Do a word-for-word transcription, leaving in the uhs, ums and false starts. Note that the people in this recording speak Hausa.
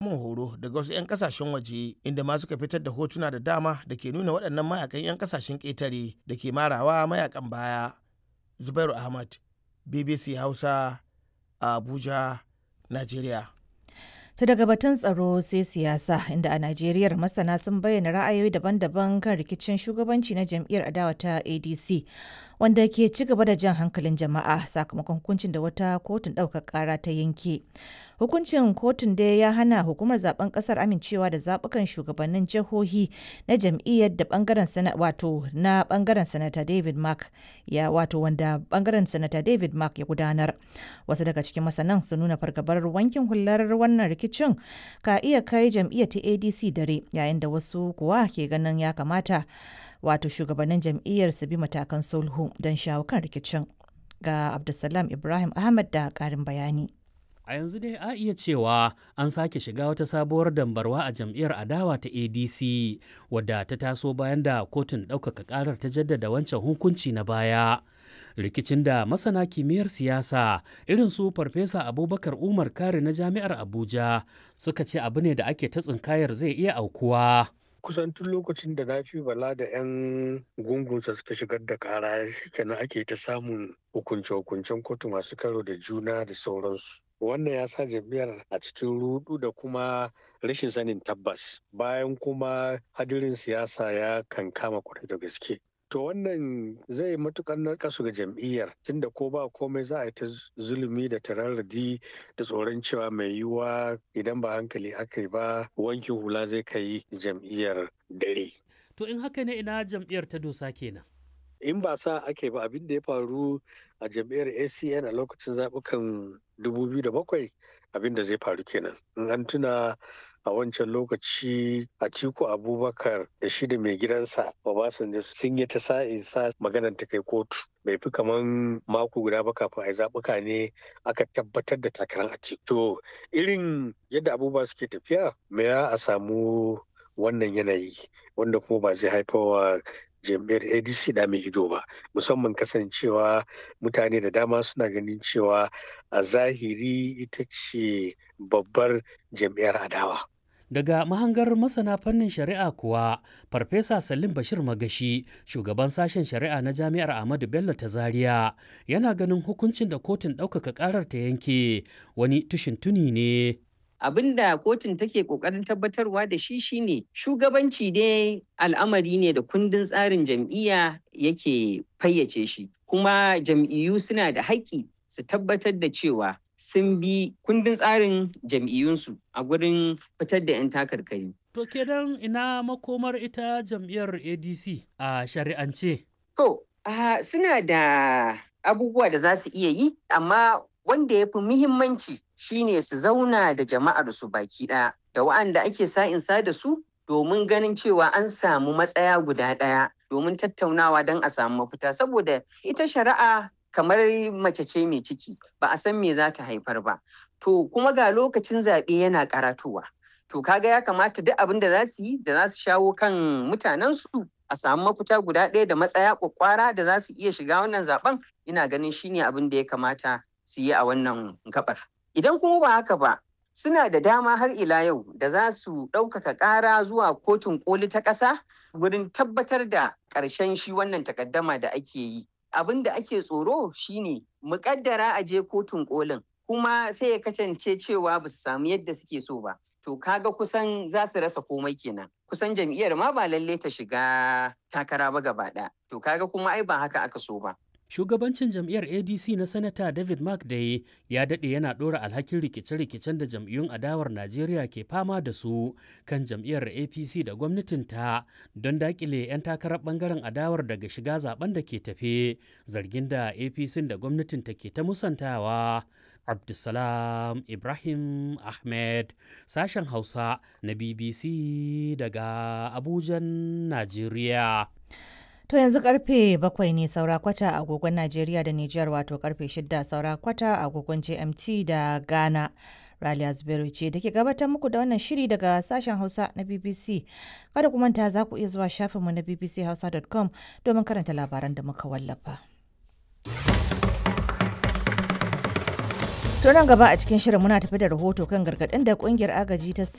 samun horo daga wasu 'yan kasashen waje, inda ma suka fitar da hotuna da dama da ke nuna waɗannan mayakan 'yan kasashen ƙetare da ke marawa mayakan baya. Zubairu Ahmad, B B C Hausa, Abuja, Najeriya. To daga batun tsaro sai siyasa, inda a Najeriya masana sun bayyana ra'ayoyi daban-daban kan rikicin shugabanci na jam'iyyar adawa ta A D C, wanda ke ci gaba da jan hankalin jama'a sakamakon hukuncin da wata kotun ɗaukar ƙara ta yanke. Hukuncin kotun dai ya hana hukumar zaben ƙasar amincewa da zaɓukan shugabannin jihohi na jam'iyyar da bangaren sana wato na bangaren Sanata David Mark ya wato wanda bangaren Sanata David Mark ya gudanar. Wasu daga cikin masanan sun nuna fargabar wankin hular wannan rikicin ka iya kai jam'iyyar ta A D C dare, yayin da wasu kuwa ke ganin ya kamata wato shugabannin jam'iyyar su bi matakan sulhu don shawo kan rikicin. Ga Abdulsalam Ibrahim Ahmad da ƙarin bayani. A yanzu dai a iya cewa an sake shiga wata sabuwar dambarwa a jam'iyyar adawa ta A D C, wadda ta taso bayan da kotun ɗaukaka ƙarar ta jaddada wancan hukunci na baya. Rikicin da masana kimiyyar siyasa irin su Farfesa Abubakar Umar Kari na Jami'ar Abuja suka ce abu ne da ake ta tsinkayar zai iya aukuwa. Kusan tun lokacin da Nafi Bala da 'yan gungunsa suka shigar da kara kenan ake ta samun hukunce-hukuncen kotu masu karo da juna da sauransu. Wannan ya sa jam'iyyar a cikin rudu da kuma rashin sanin tabbas, bayan kuma hadirin siyasa ya kankama kwarai da gaske. To wannan zai matukar narkasu ga jam'iyyar, tunda ko ba komai za a yi ta zulumi da tararradi da tsoron cewa mai yiwuwa idan ba hankali aka yi ba, wankin hula zai kai jam'iyyar dare. To in haka ne, ina jam'iyyar ta dosa kenan? In ba sa ake ba, abin da ya faru a jam'iyyar A C N a lokacin zaɓukan dubu biyu da bakwai, abin da zai faru kenan. In an tuna, a wancan lokaci Atiku Abubakar da shi da mai gidansa Obasanjo sun yi ta sa'in sa maganar ta kai kotu. Bai fi kaman mako guda ba kafin a yi zaɓuka ne aka tabbatar da takarar Atiku. To irin yadda abubuwa suke tafiya, me ya a samu wannan yanayi wanda kuma ba zai haifarwa jam'iyyar A D C da mai ido ba, musamman kasancewa mutane da dama suna ganin cewa a zahiri ita ce babbar jam'iyyar adawa. Daga mahangar masana fannin shari'a kuwa, Farfesa Salim Bashir Magashi, shugaban sashen shari'a na Jami'ar Ahmadu Bello ta Zaria, yana ganin hukuncin da kotun ɗaukaka ƙarar ta yanke wani tushin tuni ne. Abin da kotun take kokarin tabbatarwa da shi shine shugabanci dai al'amari ne da kundin tsarin jam'iyya yake fayyace shi, kuma jam'iyyu suna da haƙƙi su tabbatar da cewa sun bi kundin tsarin jam'iyyunsu a gurin fitar da 'yan takarkari. To kenan ina makomar ita jam'iyyar A D C a shari'ance? To, uh, suna da abubuwa da za su iya yi, amma wanda ya fi muhimmanci shine su zauna da jama'ar su baki ɗaya da wa'anda ake sa'insa da su, domin ganin cewa an samu matsaya guda ɗaya domin tattaunawa don a samu mafita, saboda ita shari'a kamar mace ce mai ciki, ba a san me za ta haifar ba. To kuma ga lokacin zaɓe yana karatowa, to kaga ya kamata duk abin da za su yi da za su shawo kan mutanensu a samu mafita guda ɗaya da matsaya kwakwara da za su iya shiga wannan zaben, ina ganin shine abin da ya kamata su yi a wannan gabar. Idan kuma ba haka ba, suna da dama har ila yau da za su ɗaukaka ƙara zuwa Kotun Koli ta ƙasa gurin tabbatar da ƙarshen shi wannan takaddama da ake yi. Abin da ake tsoro shine muƙaddara a je Kotun Kolin kuma sai ya kasance cewa ba su samu yadda suke so ba. To kaga kusan za su rasa komai kenan. Kusan jam'iyyar ma ba lalle ta shiga takara ba gaba ɗaya. To kaga kuma ai ba haka aka so ba. Shugabancin jam'iyyar A D C na Sanata David Mark Day ya daɗe yana ɗora alhakin rikice-rikicen da jam'iyyun adawar Najeriya ke fama da su kan jam'iyyar A P C da gwamnatinta don daƙile 'yan takarar ɓangaren adawar daga shiga zaben da ke tafe, zargin da A P C da gwamnatinta ke ta musantawa. Abdulsalam Ibrahim Ahmed, sashen Hausa na B B C daga Abujan, Najeriya. To yanzu karfe bakwai ne saura kwata a agogon Najeriya da Nijar, wato karfe shida saura kwata a agogon G M T da Ghana. Raliya Zubairu ce da ke gabatar muku da wannan shiri daga sashen Hausa na B B C. Kada ku manta, za ku iya zuwa shafinmu na B B C hausa dot com domin karanta labaran da muka wallafa. To nan gaba a cikin shirin muna tafi da rahoto kan gargaɗin da kungiyar agaji ta